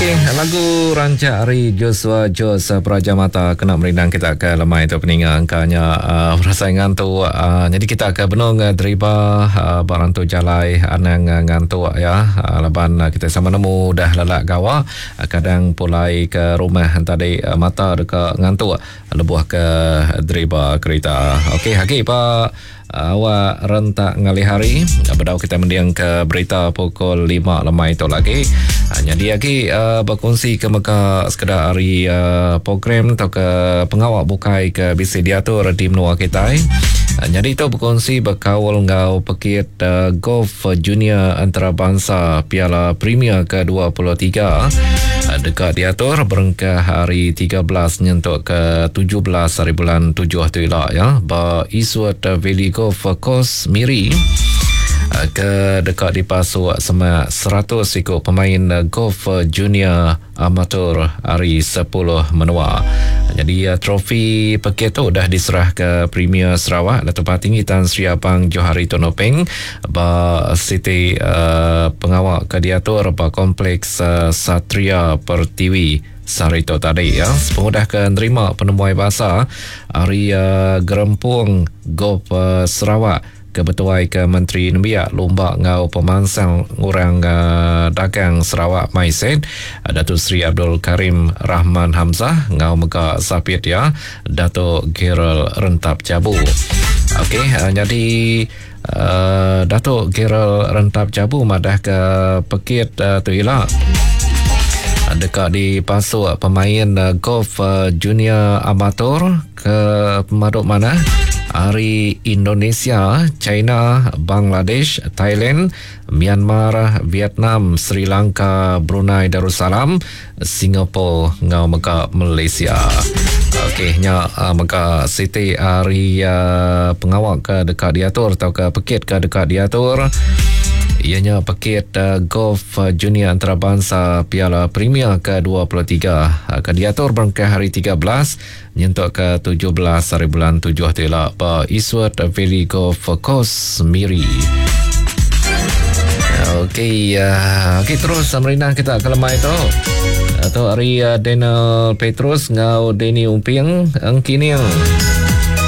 Okey, lagu rancak ari Joshua Jos Praja Mata kena merindang kita ke lemai tu peninga engka nya uh, berasai ngantuk. Uh, jadi kita ke benung uh, deriba uh, ba rantu jalai anang uh, ngantuk ya. Uh, laban uh, kita sama nemu udah lelak gawa uh, kadang pulai ke rumah tadi uh, mata deka ngantuk lebuh ke deriba kerita. Okey, agi pa Awak rentak ngalih hari bedau kita mending ke berita pukul 5 lemai tu lagi. Nyadi agi bekunsi ke mega sekeda ari program atau ke pengawa bukai ke bisi diatur di menua kitai. Nyadi tu bekunsi bekaul enggau pekit golf junior antarabangsa Piala Premier ke 23 deka diatur berengkah hari 13 nyentuk ke 17 hari bulan 7 tu ila ya ba Eastwood Valley Golf Course Miri ke deka dipasuk semak 100 iku pemain golf junior amatur ari 10 menua. Jadi trofi pekit tu udah diserah ke Premier Sarawak Datuk Patinggi Tan Sri Abang Johari Tun Openg ba siti uh, pengawa ke diatur ba Kompleks uh, Satria Pertiwi Sehari tu tadi ya, sepengudah ke nerima penemuai basa ari uh, Gerempung Golf uh, Sarawak ke betuai ke Menteri Nembiak Lumba enggau Pemansang Orang uh, Dagang Sarawak MySet Datuk Seri Abdul Karim Rahman Hamzah enggau mega sapit iya Datuk Gerald Rentap Jabu. Okey, uh, jadi uh, Datuk Gerald Rentap Jabu madah ke pekit uh, tu ila deka dipasuk pemain uh, golf uh, junior amatur ke pemadu manah ari Indonesia, China, Bangladesh, Thailand, Myanmar, Vietnam, Sri Lanka, Brunei Darussalam, Singapore enggau mega Malaysia. Okey nya uh, mega siti ari uh, pengawa ke deka diatur tauka pekit ke deka diatur iya nya pekit uh, golf junior antarabangsa Piala Premier ke 23 uh, ke diatur berengkah hari 13 nyentuk ke 17 hari bulan 7 tu ila ba Eastwood Valley Golf Course Miri. Okey, uh, okey terus merindang kita ke lemai tu. Tu hari uh, Daniel Petrus ngau Danny Umping Engkining.